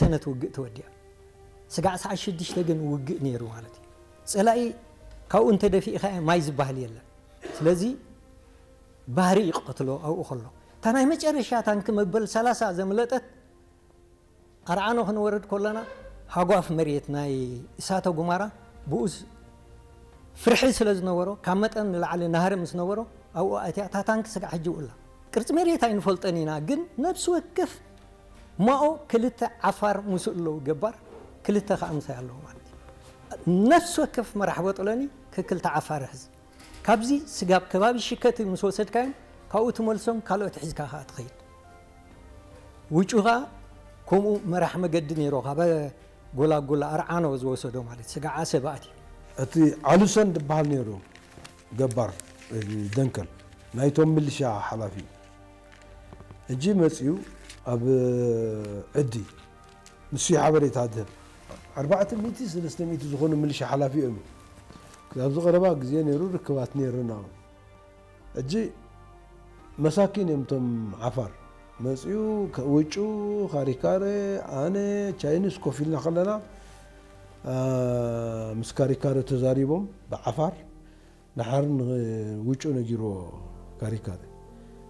ሰነት ውግእ ተወዲኣ። ስጋዕ ሰዓት ሽዱሽተ ግን ውግእ ነይሩ ማለት እዩ። ጸላኢ ካብኡ እንተደፊእካ ማይ ዝበሃል የለን። ስለዚ ባህሪ ይቕትሎ ኣብኡ ከሎ። እታ ናይ መጨረሻ ታንኪ መበል ሰላሳ ዘምለጠት ኣርዓኖ ክንወርድ ከለና ሃጓፍ መሬት ናይ እሳተ ጉማራ ብኡስ ፍርሒ ስለ ዝነበሮ ካብ መጠን ንላዕሊ ናህሪ ምስ ነበሮ ኣብኡ ኣትያ እታ ታንኪ ስጋዕ ሕጂ ውላ ቅርፂ መሬት ኣይንፈልጠን ኢና፣ ግን ነብሲ ወከፍ ማኦ ክልተ ዓፋር ምስኡ ኣለዉ ገባር ክልተ ከዓ ምሳይ ኣለዉ ማለት እዩ። ነብሲ ወከፍ መራሕ በጥለኒ ክክልተ ዓፋር ሕዝ ካብዚ ስጋብ ከባቢ ሽከቲ ምስ ወሰድካዮም ካብኡ ትመልሶም ካልኦት ሒዝካ ከዓ ትኸይድ። ውጩ ከዓ ከምኡ መራሕ መገዲ ነይሮ ካብ ጎላጉላ ኣርዓኖ ዝወሰዶ ማለት ስጋዓ ሰባት እዩ። እቲ ዓሉሰን ዝበሃል ነይሩ ገባር ደንከል ናይቶም ምልሻ ሓላፊ እዩ። ሕጂ መፅኡ ኣብ ዕዲ ንሱ ሓበሬታ ዝህብ ኣርባዕተ ሚእቲ ሰለስተ ሚእቲ ዝኾኑ ምልሻ ሓላፊ እዮም። ኣብዚ ቀረባ ግዜ ነይሩ ርክባት ነይሩና። ሕጂ መሳኪን እዮም እቶም ዓፋር መፅኡ ውጩ ካሪካረ ኣነ ቻይኒስ ኮፍ ኢልና ከለና ምስ ካሪካረ ተዛሪቦም ብዓፋር ንሓር ውጩ ነጊርዎ ካሪካረ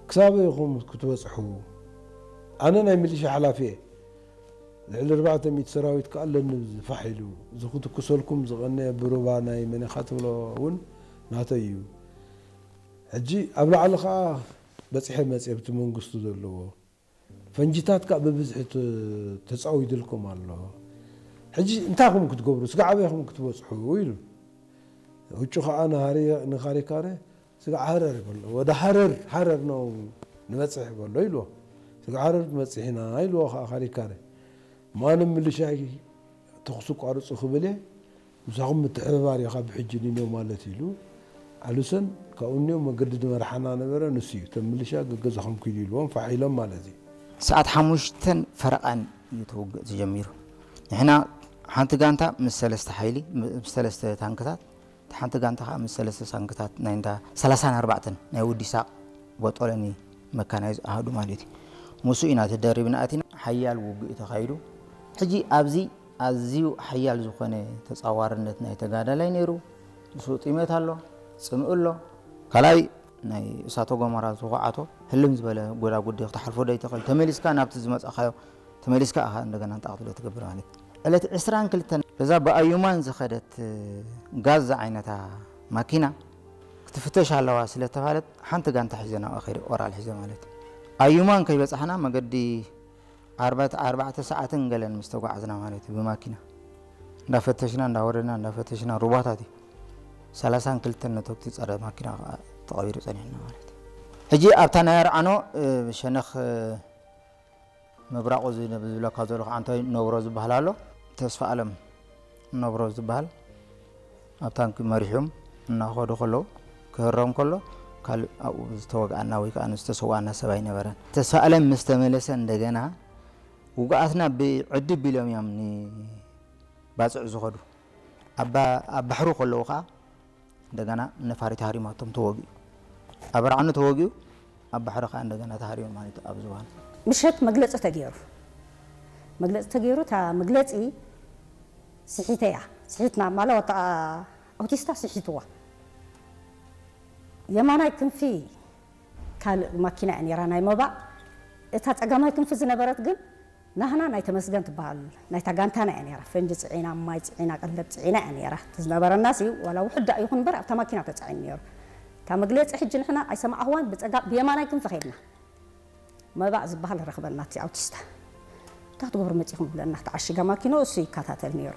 ክሳበ ኢኹም ክትበፅሑ ኣነ ናይ ሚሊሻ ሓላፊ እየ ልዕሊ ኣርባዕተ ሚእቲ ሰራዊት ከዓ ኣለኒ ዝፋሕ ኢሉ እዚ ክትኩሰልኩም ዝቐነ ብሩባ ናይ መን ኢኻ ትብሎ እውን ናተይ እዩ ሕጂ ኣብ ላዕሊ ከዓ በፂሐ መፅየ ኣብቲ መንግስቱ ዘለዎ ፈንጂታት ከዓ ብብዝሒ ተፃዊድልኩም ኣሎ ሕጂ እንታይ ኹም ክትገብሩ ስጋዕ ኣበይ ኹም ክትበፅሑ ኢሉ ውጩ ከዓ ንካሪካረ ስጋዕ ሃረር ይበሎ ወደ ሃረር ሃረር ነው ንበፅሕ ይበሎ ኢልዎ ስጋዕ ሃረር ንበፅሕ ኢና ኢልዎ ከዓ ካሪካረ ማንም ምልሻይ ተኹሲ ቋርፁ ክብል እየ ምሳኹም ምትሕብባር ኢኻ ብሕጂ ንንዮ ማለት ኢሉ ኣሉሰን ካብኡ ንዮ መገዲ ዝመርሓና ነበረ ንሱ እዩ እቶም ምልሻ ገገዛኹም ኪዱ ኢልዎም ፋሕ ኢሎም ማለት እዩ ሰዓት ሓሙሽተን ፈረቓን እዩ እቲ ውግእ ተጀሚሩ ንሕና ሓንቲ ጋንታ ምስ ሰለስተ ሓይሊ ምስ ሰለስተ ታንክታት እቲ ሓንቲ ጋንታ ከዓ ምስ ሰለስተ ታንክታት ናይ እንዳ ሰላሳን ኣርባዕተን ናይ ወዲ ሳቅ ቦጦለኒ መካናይዝ ኣሃዱ ማለት እዩ ምስኡ ኢና ተደሪብና ኣቲና ሓያል ውግእ ተኻይዱ ሕጂ ኣብዚ ኣዝዩ ሓያል ዝኾነ ተፃዋርነት ናይ ተጋዳላይ ነይሩ ምስኡ ጢመት ኣሎ ፅምእ ኣሎ ካልኣይ ናይ እሳተ ጎመራ ዝኹዓቶ ህልም ዝበለ ጎዳጉዲ ክትሓልፎ ዶ ይትኽእል ተመሊስካ ናብቲ ዝመፃኻዮ ተመሊስካ ኢኻ እንደገና ንጣቕትሎ ትገብር ማለት ዕለት ዕስራን ክልተን እዛ ብኣዩማን ዝኸደት ጋዝ ዝዓይነታ ማኪና ክትፍተሽ ኣለዋ ስለተባለት ሓንቲ ጋንታ ሒዘ ናብኣ ከይደ ኦራል ሒዘ ማለት እዩ ኣዩማን ከይበፃሕና መገዲ ኣርባዕተ ሰዓትን ገለን ምስ ተጓዓዝና ማለት እዩ ብማኪና እንዳፈተሽና እንዳወረድና እንዳፈተሽና ሩባታት እዩ ሰላሳን ክልተን ነተኩቲ ፀረ ማኪና ከዓ ተቐቢሩ ፀኒሕና ማለት እዩ ሕጂ ኣብታ ናይ ኣርዓኖ ሸነኽ ምብራቑ ዝብለካ ዘሎ ከዓ እንታይ ነብሮ ዝበሃል ኣሎ ተስፋ ኣለም ነብሮ ዝበሃል ኣብ ታንኪ መሪሖም እናኸዱ ከለዉ ክህረም ከሎ ካልእ ኣብኡ ዝተወግኣና ወይ ከዓ ዝተሰውኣና ሰብ ኣይነበረን። ተስፋ ኣለም ምስ ተመለሰ እንደገና ውጉኣትና ብዕዲ ቢሎም እዮም ንባፅዕ ዝኸዱ። ኣብ ባሕሩ ከለዉ ከዓ እንደገና ነፋሪት ሃሪማቶም ተወጊኡ። ኣብ ኣርዓኑ ተወጊኡ ኣብ ባሕሪ ከዓ እንደገና ተሃሪሙ ማለት እዩ ኣብ ዝባን። ምሸት መግለፂ ተገይሩ መግለፂ ተገይሩ እታ መግለፂ ስሒተያ ስሒትና ማለ ወታ ኣውቲስታ ስሒትዋ የማናይ ክንፊ ካልእ ማኪና እያ ነይራ ናይ መባእ እታ ፀጋማይ ክንፊ ዝነበረት ግን ናህና ናይ ተመስገን ትበሃል ናይታ ጋንታና እያ ነይራ ፈንጂ ፅዒና ማይ ፅዒና ቀለብ ፅዒና እያ ነይራ እቲ ዝነበረና ሲ ዋላ ውሕዳ ይኹን እምበር ኣብታ ማኪና ተፃዒኑ ነይሩ እታ መግለፂ ሕጂ ንሕና ኣይሰማዕኽዋን ብፀጋ ብየማናይ ክንፊ ከድና መባእ ዝበሃል ረኽበና እቲ ኣውቲስታ እንታይ ክትገብሩ መፂኹም ይብለና ተዓሺጋ ማኪኖ እሱ ይከታተል ነይሩ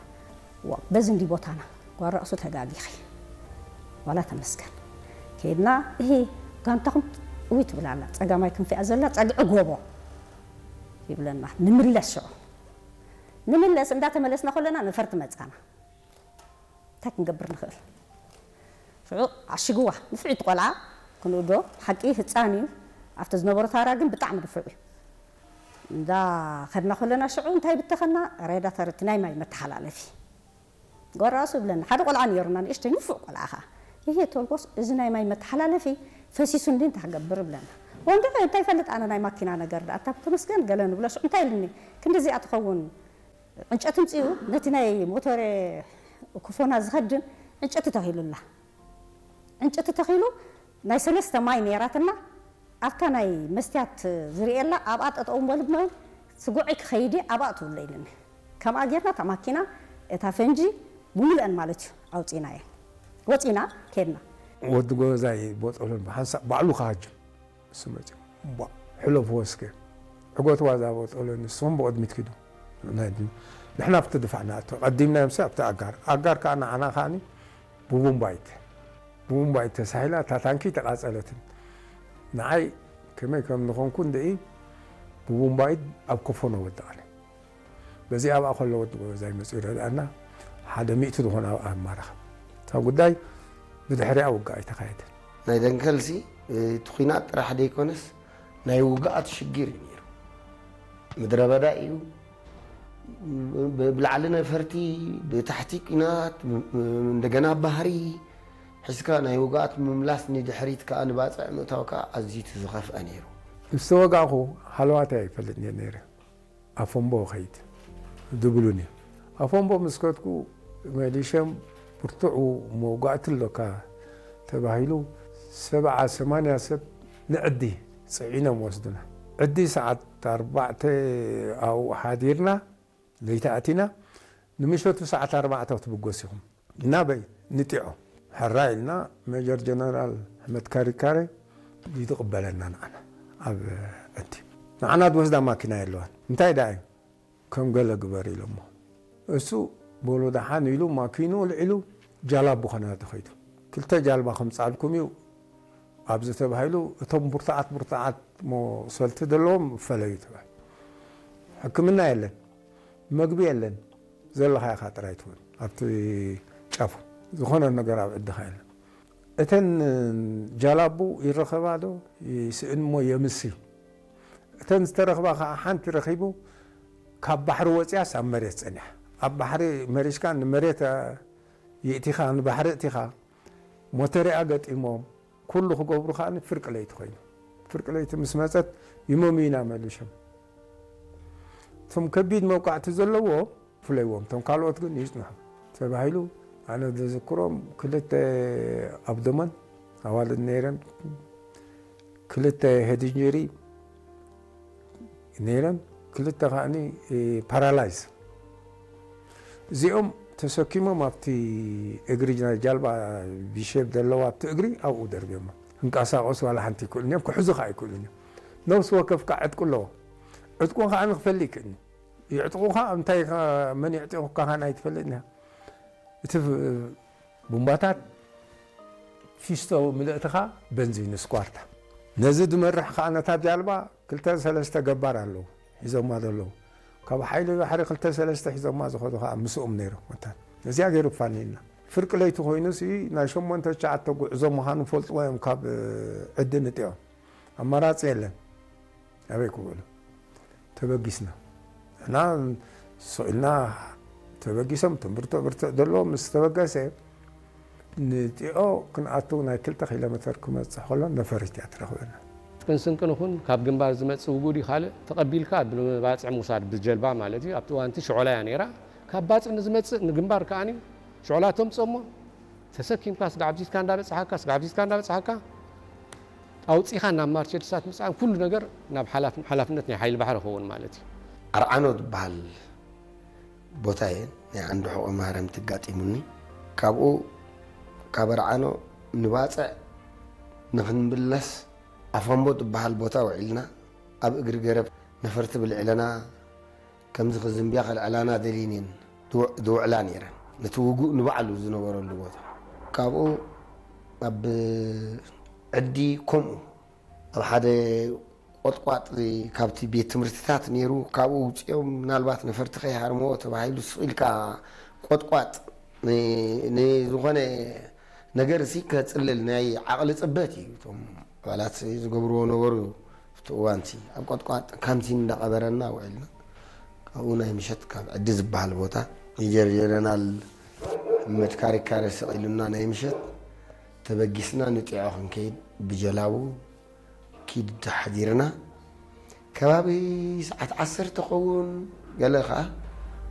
በዚ እንዲ ቦታና ጓል ራእሱ ተጋጊኺ ዋላ ተመስገን ከይድና እሂ ጋንታኹም እውይ ትብል ኣላ ፀጋማይ ክንፊኣ ዘላ ፀግዒ ጎቦ ይብለና ንምለስ ሽዑ ንምለስ እንዳተመለስና ከለና ነፈርቲ መፃና እንታይ ክንገብር ንኽእል ሽዑ ዓሽግዋ ንፍዒት ቆልዓ ክንኡ ዶ ሓቂ ህፃን እዩ ኣብቲ ዝነበሮ ታራ ግን ብጣዕሚ ንፉዕ እዩ እንዳ ከድና ከለና ሽዑ እንታይ ብተኸና ሬዳተር እቲ ናይ ማይ መተሓላለፊ ጎራሱ ይብለና ሓደ ቆልዓ ነይሩና ንእሽተይ ንፉዕ ቆልዓ ኸዓ ይሄ ቶልጎስ እዚ ናይ ማይ መተሓላለፊ ፈሲሱ እንዲ እንታይ ክገብር ይብለና ወንድዐ እንታይ ይፈልጥ ኣነ ናይ ማኪና ነገር ዳ ኣታ ተመስገን ገለ ንብሎ ሽዑ እንታይ ኢልኒ ክንዲ እዚኣ ትኸውን ዕንጨቲ ምፅኡ ነቲ ናይ ሞተር ኩፎና ዝኸድን ዕንጨቲ ተኺሉላ። ዕንጨቲ ተኺሉ ናይ ሰለስተ ማይ ነይራትና። ኣብታ ናይ መስትያት ዝርእየላ ኣብኣ ጠጠው በሉ ብመ-፣ ስጉዐይ ክኸይድ እየ ኣብኣ ትብሎ ኢልኒ። ከምኣ ጌርና እታ ማኪና እታ ፈንጂ ብምሉአን ማለት እዩ ኣውፂናየን። ወፂና ከድና። ወዲ ጎበዛይ ቦጠሎን ብሓንሳእ ባዕሉ ክሃጅም እሱ መፂኡ። ቧ፣ ሕለፍዎ እስከ። ዕጎትዋ እዛ ቦጠሎን ንስኹም ብቕድሚት ኪዱ። ናይ ድ-፣ ንሕና ኣብቲ ድፋዕ ንኣቱ። ቀዲምናዮምሲ ኣብቲ ኣጋር። ኣጋር ከኣ ንዓና ከኣኒ ብቡምባይት። ብቡምባይት ተሳሂላ እታ ታንኪ ተቓጸለትን። ንዓይ ከመይ ከም ዝኾንኩ እንድኢ ብቡምባይት ኣብ ኮፎኖ ወደቐኒ። በዚ ኣብኣ ከሎ ወዲ ጎበዛይ መፂኡ ረድኣና። ሓደ ሚእቲ ዝኾነ ኣብኣ ኣማረኸ። እታ ጉዳይ ብድሕሪኣ ውግእ ኣይተኻየደን። ናይ ደንከልሲ እቲ ኲናት ጥራሕ ደይኮነስ ናይ ውግኣት ሽግር እዩ ነይሩ። ምድረ በዳ እዩ። ብ-፣ ብላዕሊ ነፈርቲ፣ ብታሕቲ ኲናት፣ ብ-፣ እንደገና ባህሪ ሒዝካ ናይ ውግኣት ምምላስ ንድሕሪት ከኣ ንባጽዕ ምእታው ከኣ ኣዝዩ እቲ ዝኸፍአ ነይሩ። ምስ ተወጋእኹ ሃለዋተይ ኣይፈልጥን እየ ነይረ። ኣፎምቦ ኸይድ ድብሉኒ። ኣፎምቦ ምስ ከድኩ መሊሸም ብርቱዕ መውጋእቲ ኣሎካ ተባሂሉ ሰብዓ ሰማንያ ሰብ ንዕዲ ጽዒኖም ወስዱና። ዕዲ ሰዓት ኣርባዕተ ኣብኡ ሓዲርና፣ ለይቲ ኣቲና፣ ንምሸቱ ሰዓት ኣርባዕተ ክትብገሱ ኢኹም። ናበይ? ንጢዖ። ሕራይ ኢልና፣ ሜጀር ጀነራል ኣሕመድ ካሪካሬ ይትቕበለና ንዓና ኣብ ዕዲ። ንዓና ዝወስዳ ማኪና የለዋን። እንታይ ደኣ እዩ? ከም ገለ ግበር ኢሎሞ። እሱ በሉ ደሓን ኢሉ ማኪኑ ኣልዒሉ ጃላቡ ከናዲ ኸይዱ። ክልተ ጃልባ ከምጻልኩም እዩ ኣብዚ ተባሂሉ፣ እቶም ብርቱዓት ብርቱዓት ሞ ሰልቲ ዘለዎም ፈለዩ ተባሂሉ። ሕክምና የለን፣ መግቢ የለን፣ ዘለኻ ኢኻ ጥራይ ትብል ኣብቲ ጫፉ። ዝኾነ ነገር ኣብ ዕድኻ የለን። እተን ጃላቡ ይረኸባ ዶ ይስእን እሞ የምሲ። እተን ዝተረኽባ ኸዓ ሓንቲ ረኺቡ ካብ ባሕሪ ወፂኣስ ኣብ መሬት ፀኒሓ። ኣብ ባሕሪ መሪሽካ ንመሬት የእቲኻ ንባሕሪ እቲኻ ሞተሪኣ ገጢሞም ኩሉ ክገብሩ ከኣ ፍርቂ ለይቲ ኮይኑ። ፍርቂ ለይቲ ምስ መፀት ይመምዩና መሊሾም። እቶም ከቢድ መውቃዕቲ ዘለዎ ፍለይዎም፣ እቶም ካልኦት ግን ይጽንሑ ተባሂሉ። ኣነ ዝዝክሮም ክልተ ኣብዶመን ኣዋልድ ነይረን፣ ክልተ ሄድንጀሪ ነይረን፣ ክልተ ከኣኒ ፓራላይዝ። እዚኦም ተሰኪሞም ኣብቲ እግሪ ናይ ጃልባ ቪሼፕ ዘለዋ ኣብቲ እግሪ ኣብኡ ደርብዮም። ክንቀሳቐሱ ዋላ ሓንቲ ይክእሉ እዮም፣ ክሕዙ ከዓ ይክእሉ እዮም። ነፍሲ ወከፍ ከዓ ዕጥቁ ኣለዎ። ዕጥቁ ከዓ ንክፈሊ ይክእልኒ። ይዕጥቑኻ፣ እንታይ ከ-፣ መን ይዕጢቑካ ከኣ ኣይትፈልጥን ኢኻ። እቲ ፍ-፣ ቡምባታት ፊስቶ ምልእትኻ በንዚን ስኳርታ። ነዚ ዝመርሕ ከኣ ነታ ጃልባ ክልተ ሰለስተ ገባር ኣለዉ፣ ሒዞማ ዘለዉ። ካብ ሓይሊ ባሕሪ ክልተ ሰለስተ ሒዞማ ዝኸዱ ከኣ ምስኦም ነይሮም። ወታደር ነዚኣ ገይሩ ፋኒና። ፍርቂ ለይቲ ኮይኑሲ ናይ ሸሞንተ ትሽዓተ ጉዕዞ ምዃኑ ፈልጥዎ እዮም ካብ ዕዲ ንጢዖም። ኣማራጺ የለን። ኣበይ ክውዕሉ? ተበጊስና። ንሕና ስቕ ኢልና ተበጊሶም፣ ትም ብርትዕ ብርትዕ ዘለዎ ምስ ተበገሰ፣ ንጢዖ ክንኣቱ ናይ ክልተ ኪሎ ሜተር ክመጽእ ከሎ ነፈሪት እያ ትረኽበና። ትጥቅን ስንቅን ይኹን ካብ ግንባር ዝመጽእ ውጉድ እዩ፣ ካልእ ተቐቢልካ ንባጽዕ ምውሳድ ብጀልባ ማለት እዩ። ኣብቲ እዋንቲ ሽዖላ እያ ነይራ። ካብ ባጽዕ ንዝመጽእ ንግንባር ከኣኒ ሽዖላ ተምጽኦሞ ተሰኪምካ ስጋዕ ኣብዚትካ እንዳበጽሓካ፣ ስጋዕ ኣብዚትካ እንዳበጽሓካ ኣውጺኻ ናብ ማርቸድሳት ምጽኣን ኩሉ ነገር ናብ ሓላፍ-፣ ሓላፍነት ናይ ሓይሊ ባሕሪ ክኸውን ማለት እዩ። ኣርዓኖ ዝበሃል ቦታ እየ ናይ ዓንዲ ሕቖ ማህረምቲ ኣጋጢሙኒ። ካብኡ ካብ ኣርዓኖ ንባጽዕ ንኽንምለስ ኣፋምቦ ዝበሃል ቦታ ውዒልና ኣብ እግሪ ገረብ ነፈርቲ ብልዕለና ከምዚ ክዝንብያ ከልዕላና ደልየን እየን ዝው-፣ ዝውዕላ ነይረን። ነቲ ውጉእ ንባዕሉ ዝነበረሉ ቦታ። ካብኡ ኣብ ዕዲ ከምኡ ኣብ ሓደ ቆጥቋጥ ካብቲ ቤት ትምህርትታት ነይሩ፣ ካብኡ ውፅኦም ምናልባት ነፈርቲ ከይሃርምዎ ተባሂሉ ስቕ ኢልካ ቆጥቋጥ ን-፣ ንዝኾነ ነገር ሲ ከፅልል ናይ ዓቕሊ ፅበት እዩ። እቶም ኣባላት ዝገብርዎ ነበሩ። ኣብቲ እዋንሲ ኣብ ቆጥቋጥ ካምሲን እንዳቐበረና ውዒልና። ካብኡ ናይ ምሸት ካብ ዕዲ ዝበሃል ቦታ ሜጀር ጀነራል መድካሪካረ ስቕ ኢሉና ናይ ምሸት ተበጊስና ንጢዖ ክንከይድ ብጀላቡ ኪድ ሓዲርና። ከባቢ ሰዓት ዓሰርተ ኸውን ገለ ኸዓ